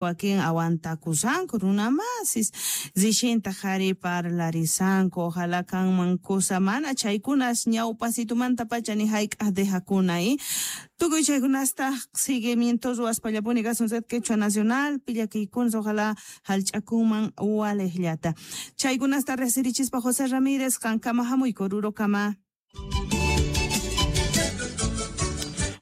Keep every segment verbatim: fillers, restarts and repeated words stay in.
Wakin aguantakusanku runamasis rishintaq qhari parlarisanku ojalá kanman kusa mana chaykunas ñawpasitumanta pacha ni hayk'aq dejakuna y tukuy chaykunasta seguimiento ruwaspallapuni kasun Red Quechua Nacional pillakiykunas ojalá hallch'akunman waliqllata chaykunasta riqsirichispa José Ramírez qankama hamuyku Orurokama.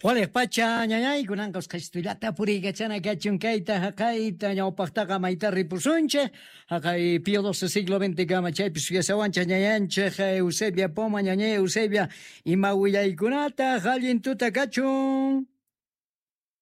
Waliq pacha ñañay kunanqa usqhayllata puriykachana kachun kayta haqayta ñawpaqtaqa mayta ripusunchik haqay Pío doce siglo veinte kama chaypi suyasawanchik ñañanchik Eusebia Poma ñañay Eusebia ima willaykunata allin tuta kachun.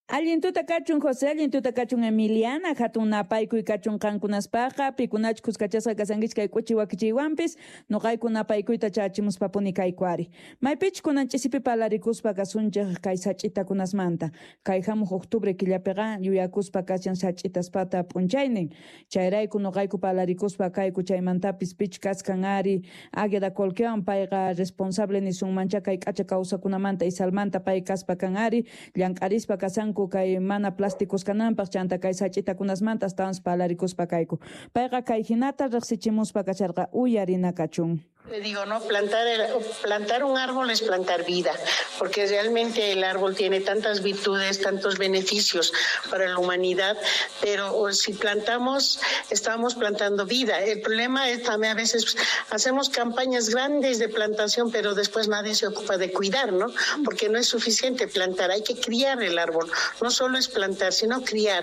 Allin tuta kachun José, allin tuta kachun Emiliana, hatun napaykuy kachun qankunaspaqa, pikunachu kuskachasqa kasankichik kay k'uchi wakichiywanpis, nuqayku napaykuyta chachimuspapuni kayku ari. Maypichu kunan ch'isipi parlarikuspa kasunchik kay sach'itakunasmanta, kay hamuq octubre killapiqa yuyakuspa kashan sach'itaspata p'unchaynin, chayrayku nuqayku parlarikuspa kayku chaymantapis pich kaskan ari Águeda Colquewan payqa responsable nisunmancha kay k'acha kawsakunamanta Isalmanta pay kaspa kan ari, llank'arispa kasanku kay mana plásticos kananpaq chanta kay sach'itakunasmanta astawan parlarikuspa kayku. Payqa kay hinata riqsichimuspa kasharqa uyarina kachun. Le digo, no, plantar, el, plantar un árbol es plantar vida, porque realmente el árbol tiene tantas virtudes, tantos beneficios para la humanidad, pero si plantamos, estamos plantando vida. El problema es también a veces hacemos campañas grandes de plantación, pero después nadie se ocupa de cuidar, ¿no? Porque no es suficiente plantar, hay que criar el árbol. No solo es plantar, sino criar.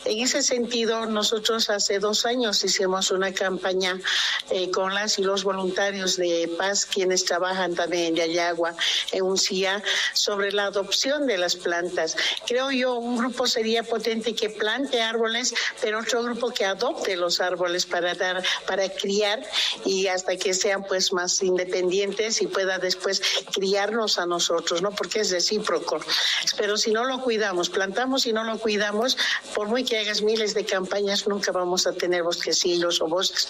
En ese sentido, nosotros hace dos años hicimos una campaña eh, con las y los voluntarios de paz, quienes trabajan también en Llallagua, en Uncía, sobre la adopción de las plantas. Creo yo, un grupo sería potente que plante árboles, pero otro grupo que adopte los árboles para dar, para criar y hasta que sean pues más independientes y pueda después criarnos a nosotros, ¿no? Porque es recíproco. Pero si no lo cuidamos, plantamos y no lo cuidamos, por muy que hagas miles de campañas, nunca vamos a tener bosquecillos o bosques.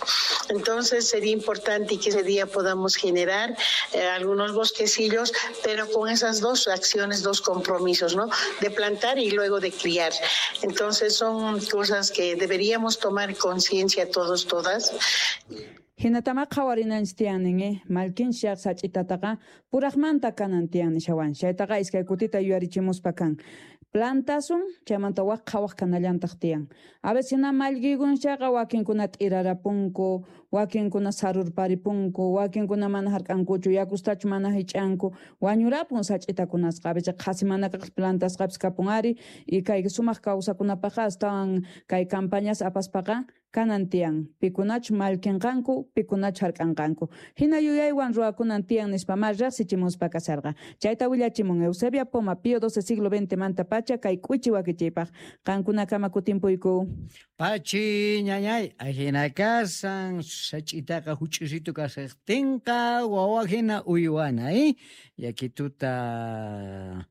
Entonces sería importante que ese día podamos generar eh, algunos bosquecillos, pero con esas dos acciones, dos compromisos, ¿no? De plantar y luego de criar. Entonces son cosas que deberíamos tomar conciencia todos, todas. Hinatama qhawarinanchik tiyanin, eh? Malkinchaq sach'itataqa puraqmanta kanan tiyan nishawan. Chaytaqa iskay kutita yuyarichimuspa kan. Plantasun, chaymanta waq qhawaq kanallantaq tiyan. A veces hina mallkikunchaqa wakinkuna t'irarapunku, wakinkuna sarurparipunku, wakinkuna mana hark'ankuchu, yakustachu mana hich'anku, wañurapun sach'itakunasqa. A veces qhasi mana kaq plantasqapis kapun ari, y kay sumaq kawsakunapaqqa astawan kay campañas apaspaqa kanan tiyan. Pikunachu mallkinqanku, pikunachu hark'anqanku. Hina yuyaywan ruwakunan tiyan nispa ma riqsichimuspa kasharqa. Chayta willachimun Eusebia Poma, Pío doce siglo veinte manta pacha kay k'uchi wakichiypaq. Qankunakama kutimpuyku. Pachi ñañay, ajina kasan, sach'itaqa huch'usitu kashaqtinqa, wawa hina uywana, eh? Yakituta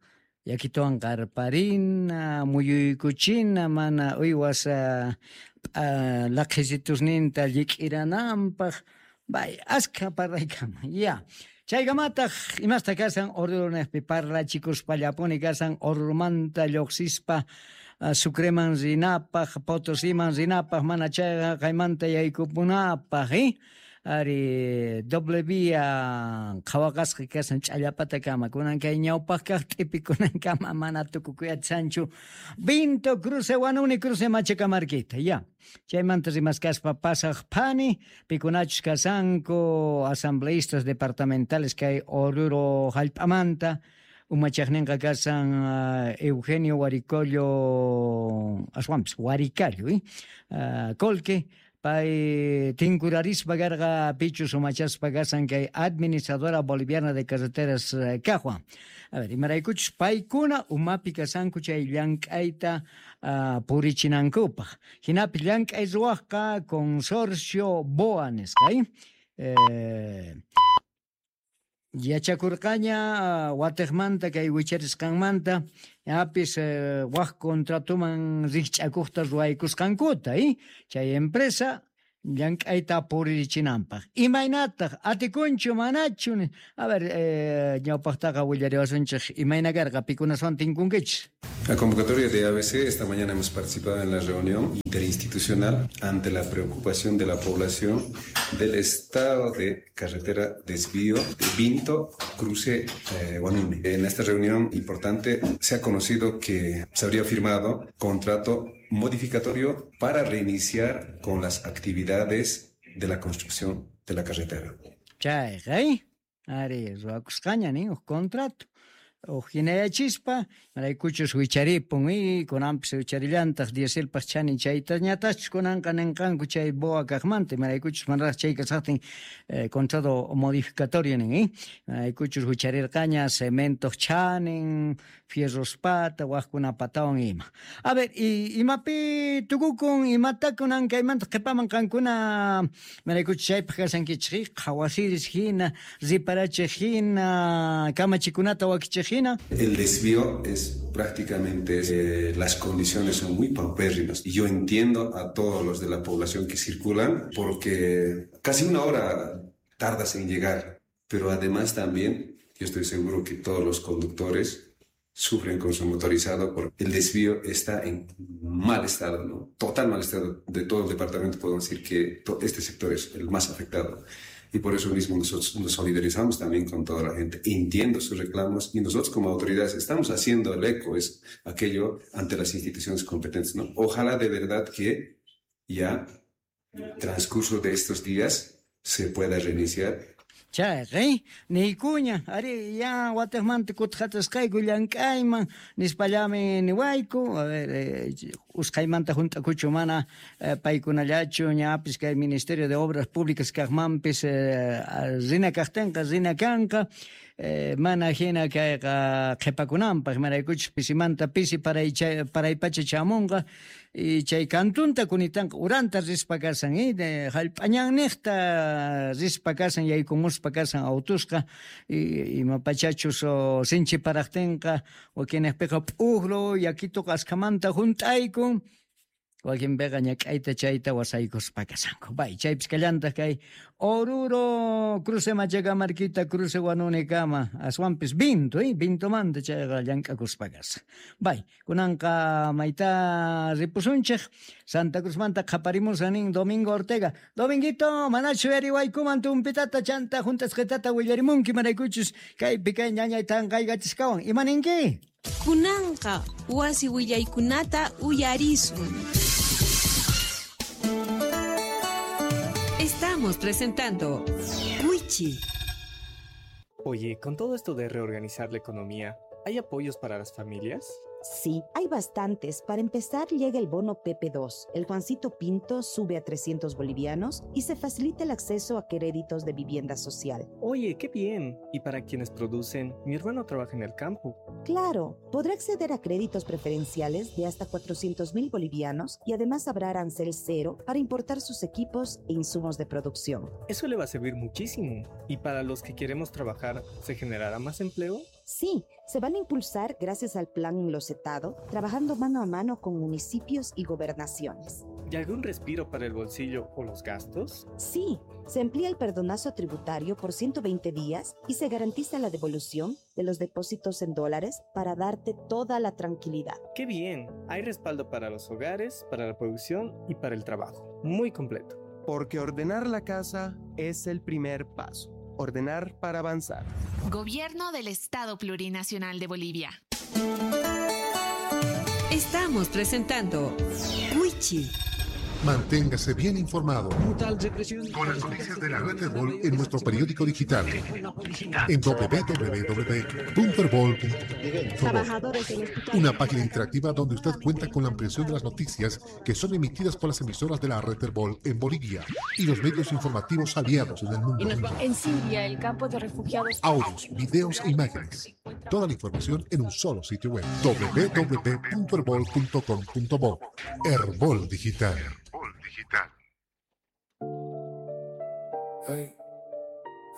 yakituwan qarparina, muyuykuchina, mana uywas uh, laqhisitusninta llik'irananpaq, bay, askha parlaykama, ya. Chaykamataq imasta kasan Orurunejpi parlachikuspallapuni kasan Orurumanta lluqsispa uh, Sucreman rinapaq, Potosiman rinapaq, mana chayqa qaymanta yaykupunapaq, eh? Ari doble vía qhawaqasqa kasan ch'allapatakama kunan kay ñawpaq kaq t'ipikunankama mana tukukuyatsanchu Vinto cruce Huanuni cruce Machacamarquita ya chaymanta rimaskaspa pasaq phani pikunachus kasanku asambleístas departamentales kay Oruro hallp'amanta umachaqninqa kasan uh, Eugenio Huaricollo aswanpis Huaricallo eh? uh, Colque pay tinkurarispa karqa pichus umachaspa kasan kay administradora boliviana de carreteras kaqwan. A ver, imaraykuchus paykuna umapi kasanku chay llank'ayta uh, purichinankupaq. Hinapi llank'ay ruwaqqa consorcio B O A nisqa, eh? Eh, yachakurqaña uh, watiqmanta kay wicharisqanmanta apis uh, waq contratuman rikch'akuqta ruwaykusqankuta, eh? Chay empresa llank'ayta puririchinanpaq. Imaynataq atikunchu manachu? A ver, eh, ñawpaqtaqa willariwasunchik imayna karqa pikunaswan tinkunkichis. La convocatoria de A B C, esta mañana hemos participado en la reunión interinstitucional ante la preocupación de la población del estado de carretera desvío de Vinto, cruce eh, Huanuni. En esta reunión importante se ha conocido que se habría firmado contrato modificatorio para reiniciar con las actividades de la construcción de la carretera. Chayqa, ari, ruwakusqaña nin huk contrato. Ujinayachispa, maraykuchus wicharipun y kunanpis wicharillantaq dieselpaq chanin chaytañatachus kunanqa ninqanku chay boa kaqmanta, maraykuchus manaraq chay kasaqtin eh, contrato modificatorio nin, eh? Maraykuchus wicharirqaña cementoq chanin, fierros pata, waqkuna patawan ima. A ver, y imapi tukukun, imata kunan kaymanta qhipaman qankuna maraykuchus chaypaq kashankichik, qhawasiris hina, riparachiq hina, kamachikunata wakichiq. El desvío es prácticamente, eh, las condiciones son muy paupérrimas. Y yo entiendo a todos los de la población que circulan porque casi una hora tardas en llegar. Pero además también, yo estoy seguro que todos los conductores sufren con su motorizado porque el desvío está en mal estado, ¿no? Total mal estado de todo el departamento. Podemos decir que este sector es el más afectado. Y por eso mismo nosotros nos solidarizamos también con toda la gente. Entiendo sus reclamos y nosotros como autoridades estamos haciendo el eco, es aquello ante las instituciones competentes, ¿no? Ojalá de verdad que ya transcurso de estos días se pueda reiniciar. Chayqa, niykuña, ari, ya wataqmanta kutqatasqayku llank'ayman, nispallami niwayku, a ver, eh, usqhaymanta hunt'akuchu mana eh, paykunallachu, ñapis kay Ministerio de Obras Públicas kaqmanpis eh, rina kaqtinqa, rina kanqa, eh, mana hina kayqa qhipakunanpaq, maraykuchus pisimanta pisi paraypacha chamunqa, y chay kantunta kunitanqa uranta rispa kasan, eh, hallp'añanniqta rispa kasan, yaykumuspa kasan autusqa, y imapachachus sinchi paraqtinqa, wakinniqpiqa p'uqlu, yakituqa askhamanta hunt'aykun, wakinpiqa ñak'ayta chayta wasaykuspa kasanku. Bay, chaypis kallantaq kay Oruro, cruce Machacamarquita, cruce Huanunikama, aswanpis Vinto, eh, Vintomanta chayqa llank'akuspa kasan. Bay, kunanqa mayta ripusunchik, Santa Cruzmanta qhaparimusan nin Domingo Ortega. Dominguito, manachu yariwaykuman tumpitata chanta juntasqitata willarimunki maraykuchus kaypi kay ñañay tanqaykachisqawan. Ima ninki? Kunanqa wasi willaykunata uyarisun. Estamos presentando Wichi. Oye, con todo esto de reorganizar la economía, ¿hay apoyos para las familias? Sí, hay bastantes. Para empezar, llega el bono P P dos. El Juancito Pinto sube a trescientos bolivianos y se facilita el acceso a créditos de vivienda social. Oye, qué bien. ¿Y para quienes producen? Mi hermano trabaja en el campo. Claro, podrá acceder a créditos preferenciales de hasta cuatrocientos mil bolivianos y además habrá arancel cero para importar sus equipos e insumos de producción. Eso le va a servir muchísimo. ¿Y para los que queremos trabajar, se generará más empleo? Sí, se van a impulsar gracias al plan Enlosetado, trabajando mano a mano con municipios y gobernaciones. ¿Y algún respiro para el bolsillo o los gastos? Sí, se amplía el perdonazo tributario por ciento veinte días y se garantiza la devolución de los depósitos en dólares para darte toda la tranquilidad. ¡Qué bien! Hay respaldo para los hogares, para la producción y para el trabajo. Muy completo. Porque ordenar la casa es el primer paso. Ordenar para avanzar. Gobierno del Estado Plurinacional de Bolivia. Estamos presentando Wichi. Manténgase bien informado con las noticias de la red Herbol en nuestro periódico digital en doble u doble u doble u punto herbol punto com. Una página interactiva donde usted cuenta con la ampliación de las noticias que son emitidas por las emisoras de la red Herbol en Bolivia y los medios informativos aliados en el mundo. En Siria, el campo de refugiados. Audios, videos e imágenes. Toda la información en un solo sitio web: doble u doble u doble u punto herbol punto com punto bo. Herbol Digital. Digital. Hey,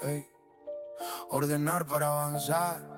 hey. Ordenar para avanzar.